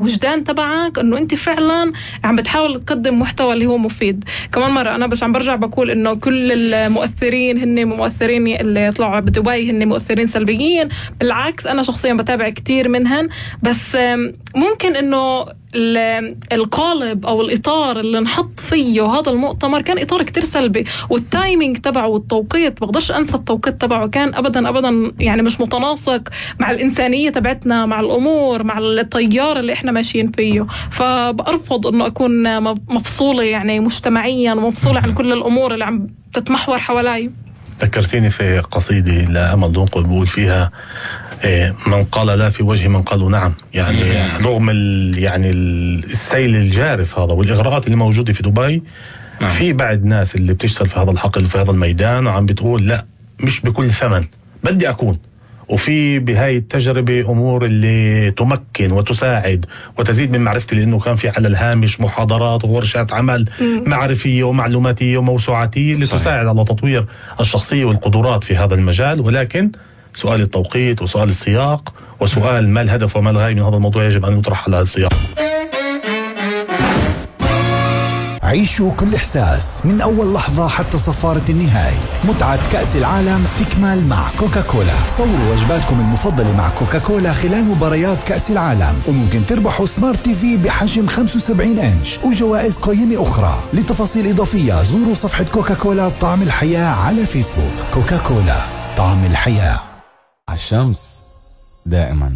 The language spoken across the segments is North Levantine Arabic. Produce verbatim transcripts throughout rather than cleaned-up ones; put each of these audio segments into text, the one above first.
الوجدان تبعك إنه أنت فعلا عم بتحاول تقدم محتوى اللي هو مفيد. كمان مرة أنا بس عم برجع بقول إنه كل المؤثرين هن مؤثرين اللي يطلعوا بدبي هن مؤثرين سلبيين، بالعكس أنا شخصيا بتابع كتير منهن، بس ممكن إنه القالب أو الإطار اللي نحط فيه هذا المؤتمر كان إطار كتير سلبي، والتايمينج تبعه والتوقيت بقدرش أنسى التوقيت تبعه كان أبدا أبدا يعني مش متناسق مع الإنسانية تبعتنا، مع الأمور، مع التيار اللي إحنا ماشيين فيه. فبأرفض إنه أكون مفصولة يعني مجتمعيا ومفصولة عن كل الأمور اللي عم تتمحور حوالي. ذكرتيني في قصيدة لأمل دنقل بقول فيها من قال لا في وجه من قالوا نعم. يعني رغم يعني السيل الجارف هذا والإغراءات اللي موجودة في دبي، في بعض ناس اللي بتشتغل في هذا الحقل في هذا الميدان وعم بتقول لا مش بكل ثمن بدي أكون. وفي بهاي التجربة أمور اللي تمكن وتساعد وتزيد من معرفتي، لأنه كان في على الهامش محاضرات وورشات عمل معرفية ومعلوماتية وموسوعاتية اللي صحيح. تساعد على تطوير الشخصية والقدرات في هذا المجال. ولكن سؤال التوقيت وسؤال السياق وسؤال ما الهدف وما الغاية من هذا الموضوع يجب أن يطرح على السياق. عيشوا كل إحساس من أول لحظة حتى صفارة النهاية. متعة كأس العالم تكمل مع كوكاكولا. صوروا وجباتكم المفضلة مع كوكاكولا خلال مباريات كأس العالم، وممكن تربحوا سمارت تي في بحجم خمسة وسبعين إنش وجوائز قيمة أخرى. لتفاصيل إضافية زوروا صفحة كوكاكولا طعم الحياة على فيسبوك. كوكاكولا طعم الحياة. الشمس دائما.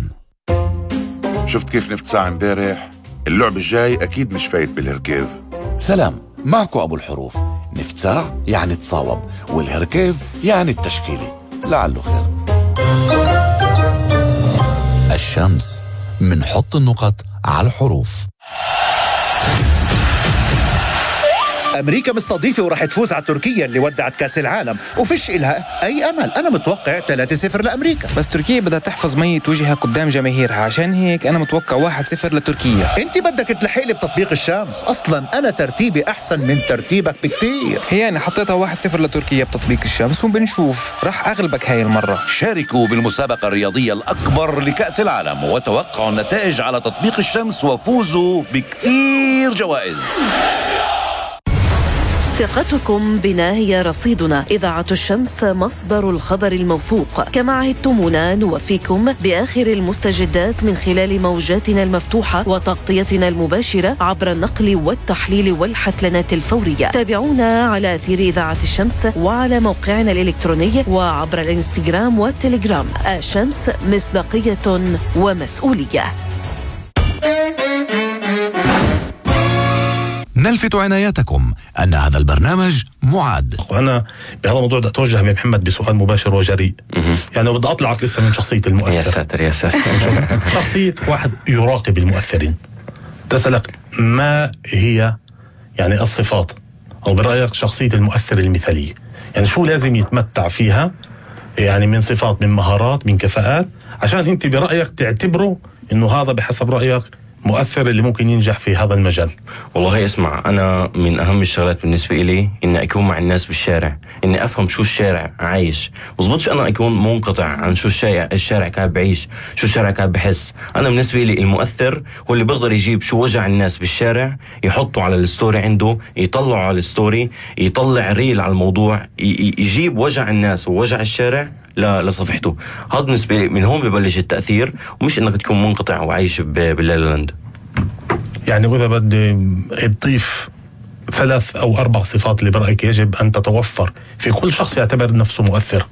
شفت كيف نفت ساعة امبارح؟ اللعب الجاي أكيد مش فايت بالهركيف. سلام، معكم أبو الحروف. نفت ساعة يعني تصاوب، والهركيف يعني التشكيلي، لعله خير. الشمس، منحط النقط على الحروف. أمريكا مستضيفة ورح تفوز على تركيا اللي ودعت كأس العالم، وفيش إلها أي أمل. أنا متوقع ثلاثة صفر لأمريكا. بس تركيا بدها تحفظ مية وجهها قدام جماهيرها، عشان هيك أنا متوقع واحد صفر لتركيا. أنت بدك تلحقلي بتطبيق الشمس، أصلا أنا ترتيبي أحسن من ترتيبك بكتير. هي أنا حطيتها واحد صفر لتركيا بتطبيق الشمس، وبنشوف رح أغلبك هاي المرة. شاركوا بالمسابقة الرياضية الأكبر لكأس العالم وتوقعوا النتائج على تطبيق الشمس وفوزوا بكثير جوائز. ثقتكم بنا هي رصيدنا. إذاعة الشمس مصدر الخبر الموثوق. كما عهدتمونا نوفيكم بآخر المستجدات من خلال موجاتنا المفتوحة وتغطيتنا المباشرة عبر النقل والتحليل والحتلنات الفورية. تابعونا على أثير إذاعة الشمس وعلى موقعنا الإلكتروني وعبر الإنستغرام والتليجرام. الشمس، مصداقية ومسؤولية. نلفت عنايتكم أن هذا البرنامج معد. وأنا بهذا الموضوع بدي أتوجه من محمد بسؤال مباشر وجريء. يعني بدي أطلعك لسه من شخصية المؤثر. يا ساتر يا ساتر. شخصية واحد يراقب المؤثرين. تسألك ما هي يعني الصفات أو برأيك شخصية المؤثر المثالية؟ يعني شو لازم يتمتع فيها يعني من صفات، من مهارات، من كفاءات، عشان أنت برأيك تعتبره إنه هذا بحسب رأيك مؤثر اللي ممكن ينجح في هذا المجال؟ والله اسمع، أنا من أهم الشغلات بالنسبة إلي إني أكون مع الناس بالشارع، إني أفهم شو الشارع عايش. مزبطش أنا أكون منقطع عن شو الشارع الشارع قاعد بعيش، شو الشارع قاعد بحس. أنا بالنسبة لي المؤثر هو اللي بيقدر يجيب شو وجع الناس بالشارع، يحطه على الستوري عنده، يطلعه على الستوري، يطلع ريل على الموضوع، يجيب وجع الناس ووجع الشارع لصفحته. هذا بالنسبة لي من هون ببلش التأثير، ومش إنك تكون منقطع وعايش باللالاند. يعني وإذا بدي تضيف ثلاث أو أربع صفات اللي برأيك يجب أن تتوفر في كل شخص يعتبر نفسه مؤثر.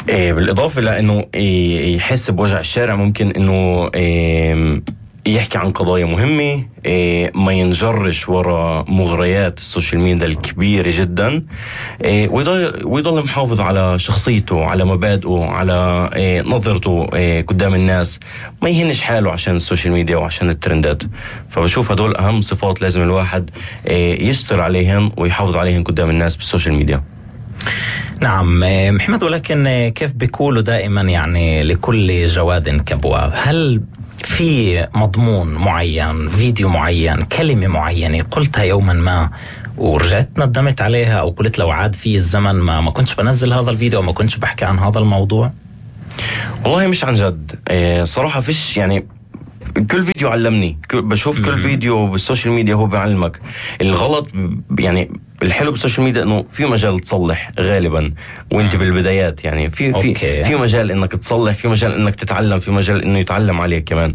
إيه بالإضافة لأنه إيه يحس بوجع الشارع، ممكن إنه إيه يحكي عن قضايا مهمة، إيه ما ينجرش وراء مغريات السوشيال ميديا الكبيرة جدا، إيه ويضل, ويضل محافظ على شخصيته، على مبادئه، على إيه نظرته إيه قدام الناس، ما يهنش حاله عشان السوشيال ميديا وعشان الترندات. فبشوف هدول أهم صفات لازم الواحد إيه يشتغل عليهم ويحافظ عليهم قدام الناس بالسوشيال ميديا. نعم محمد، ولكن كيف بيقولوا دائما يعني لكل جواد كبوة، هل في مضمون معين، فيديو معين، كلمة معينة قلتها يوما ما ورجعت ندمت عليها، أو قلت لو عاد في الزمن ما ما كنتش بنزل هذا الفيديو وما كنتش بحكي عن هذا الموضوع؟ والله مش عن جد إيه صراحة، فيش يعني كل فيديو علمني، بشوف كل فيديو بالسوشيال ميديا هو بيعلمك الغلط. يعني الحلو بالسوشيال ميديا انه في مجال تصلح غالبا وانت بالبدايات، يعني في في أوكي. في مجال انك تصلح، في مجال انك تتعلم، في مجال انه يتعلم عليك كمان.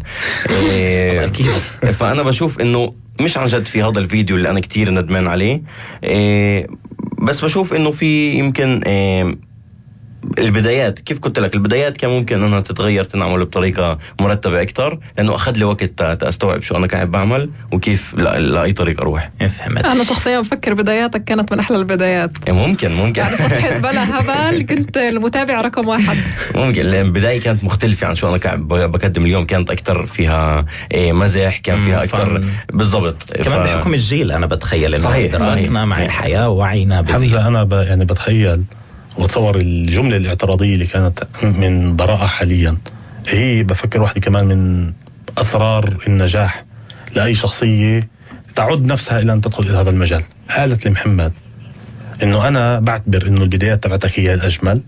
إيه اكيد. فانا بشوف انه مش عن جد في هذا الفيديو اللي انا كتير ندمان عليه، إيه بس بشوف انه في يمكن إيه البدايات، كيف قلت لك البدايات كان ممكن انها تتغير تنعمل بطريقه مرتبه اكثر، لانه اخذ لي وقت استوعب شو انا قاعد بعمل وكيف لاي طريق اروح. فهمت. انا شخصيا بفكر بداياتك كانت من احلى البدايات. ممكن ممكن يعني صفحه بلا هبل كنت المتابع رقم واحد. ممكن البدايه كانت مختلفه عن شو انا قاعد بقدم اليوم، كانت اكثر فيها مزح، كان فيها اكثر بالضبط كمان ف... بحكم الجيل انا بتخيل انه صحيح دركنا مع الحياه ووعينا بزيد. حمزه انا ب... يعني بتخيل وتصور الجملة الاعتراضية اللي كانت من براءة حاليا هي بفكر واحدة كمان من أسرار النجاح لأي شخصية تعد نفسها إلى أن تدخل إلى هذا المجال. قالت لمحمد إنه أنا بعتبر إنه البدايات تبعتك هي الأجمل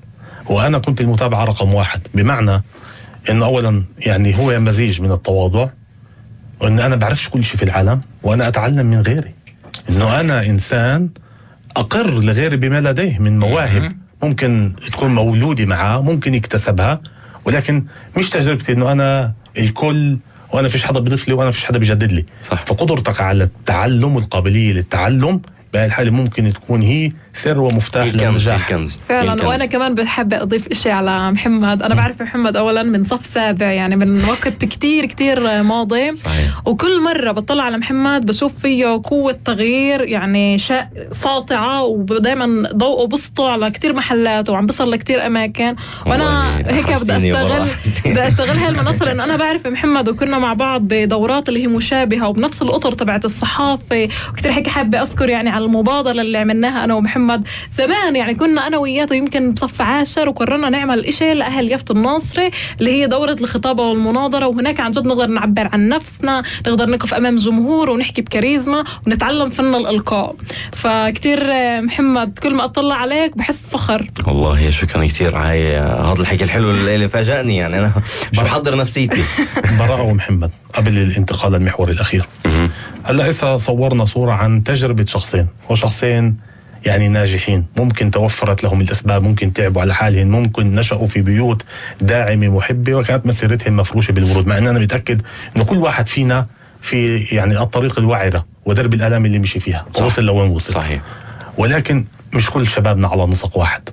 وأنا كنت المتابعة رقم واحد، بمعنى إنه أولا يعني هو مزيج من التواضع وإن أنا بعرفش كل شيء في العالم وأنا أتعلم من غيري، إنه أنا إنسان أقر لغيري بما لديه من مواهب ممكن تكون مولودي معاه، ممكن يكتسبها، ولكن مش تجربتي انه انا الكل وانا فيش حدا بيضيف لي وانا فيش حدا بيجدد لي. صح. فقدرتك على التعلم والقابليه للتعلم بهاي الحاله ممكن تكون هي سر ومفتاح للنجاح فعلا. الكنز. وانا كمان بحب اضيف اشي على محمد. انا بعرف محمد اولا من صف سابع، يعني من وقت كتير كتير ماضي. صحيح. وكل مره بطلع على محمد بشوف فيه قوه تغيير يعني شا... ساطعه، ودائما ضوءه بسطه على كتير محلات وعم بصل لكتير اماكن. وانا هيك بدي استغل بدي استغل هاي المنصه لانه انا بعرف محمد وكنا مع بعض بدورات اللي هي مشابهه وبنفس الاطر تبعت الصحافه، وكتير هيك حابه اذكر يعني على المبادرة اللي عملناها أنا ومحمد زمان. يعني كنا أنا وياته يمكن بصف عاشر وقررنا نعمل إشي لأهل يافت الناصري اللي هي دورة الخطابة والمناظرة، وهناك عن جد نقدر نعبر عن نفسنا، نقدر نقف أمام جمهور ونحكي بكاريزما ونتعلم فن الإلقاء. فكتير محمد كل ما أطلع عليك بحس فخر. والله شكرا كتير على هذا الحكي الحلو اللي فاجأني، يعني أنا مش بحضر نفسيتي. براءة ومحمد قبل الانتقال للمحور الأخير. هلا هسه صورنا صورة عن تجربة شخصين وشخصين يعني ناجحين، ممكن توفرت لهم الأسباب، ممكن تعبوا على حالهم، ممكن نشأوا في بيوت داعمة محبة وكانت مسيرتهم مفروشة بالورود، مع أن أنا متأكد أنه كل واحد فينا في يعني الطريق الوعرة ودرب الآلام اللي مشي فيها ووصل لوين وصل. صحيح. ولكن مش كل شبابنا على نسق واحد،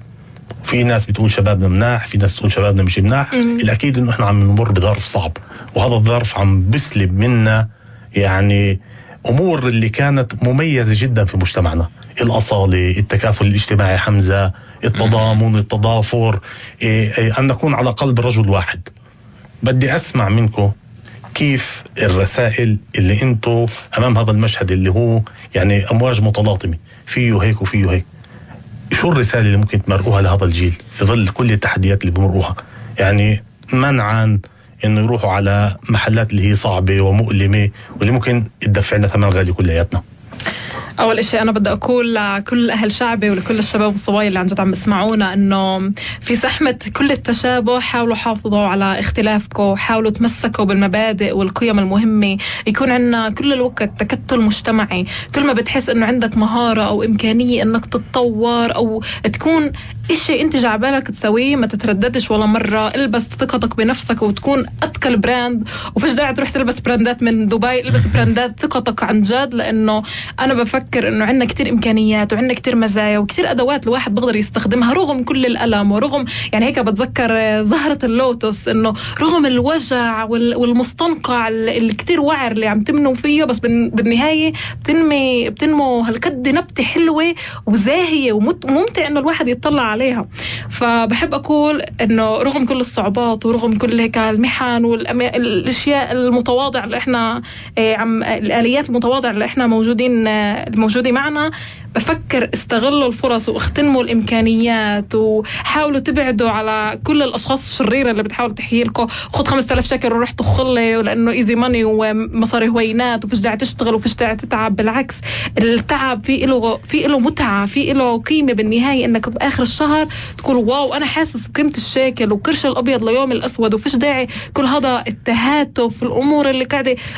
في ناس بتقول شبابنا مناح، في ناس بتقول شبابنا مش مناح. الأكيد أنه إحنا عم نمر بظرف صعب، وهذا الظرف عم بسلب منا يعني أمور اللي كانت مميزة جدا في مجتمعنا، الأصالة، التكافل الاجتماعي حمزة، التضامن، التضافر، إيه إيه أن نكون على قلب رجل واحد. بدي أسمع منكم كيف الرسائل اللي أنتوا أمام هذا المشهد اللي هو يعني أمواج متلاطمة، فيه هيك وفيه هيك، شو الرسالة اللي ممكن تمرقوها لهذا الجيل في ظل كل التحديات اللي بمرقوها، يعني منعا انه يروحوا على محلات اللي هي صعبة ومؤلمة واللي ممكن تدفع لنا ثمن غالي كلياتنا؟ أول إشي أنا بدي أقول لكل أهل شعبي ولكل الشباب والصبايا اللي عن جد عم يسمعونا إنه في زحمة كل التشابه حاولوا حافظوا على اختلافكم، حاولوا تمسكوا بالمبادئ والقيم المهمة، يكون عندنا كل الوقت تكتل مجتمعي. كل ما بتحس إنه عندك مهارة أو إمكانية إنك تتطور أو تكون إشي أنت جعبالك تسويه ما تترددش ولا مرة، البس ثقتك بنفسك وتكون أتقل براند، وفيش داعي تروح تلبس براندات من دبي، البس براندات ثقتك عن جد. لأنه أنا بفكر إنه عندنا كتير إمكانيات وعندنا كتير مزايا وكتير أدوات الواحد بقدر يستخدمها رغم كل الألم ورغم يعني هيك بتذكر زهرة اللوتس إنه رغم الوجع والمستنقع اللي كتير وعر اللي عم تمنوا فيه، بس بالنهاية بتنمي بتنمو هالقد نبتة حلوة وزاهية وممتع إنه الواحد يطلع عليها. فبحب أقول إنه رغم كل الصعوبات ورغم كل هيك المحن والأشياء المتواضعة اللي إحنا عم الآليات المتواضعة اللي إحنا موجودين موجودة معنا بفكر استغلوا الفرص واختنموا الإمكانيات وحاولوا تبعدوا على كل الأشخاص الشريرة اللي بتحاول تحكي لكم خد خمسة آلاف شكل وروح تخلي ولأنه إيزي ماني ومصاري هوينات وفيش داعي تشتغل وفيش داعي تتعب. بالعكس التعب في له في له متعة، في له قيمة بالنهاية، إنك بآخر الشهر تقول واو أنا حاسس بقيمة الشاكل وكرش الأبيض ليوم الأسود، وفيش داعي كل هذا التهاتف في الأمور اللي قاعدة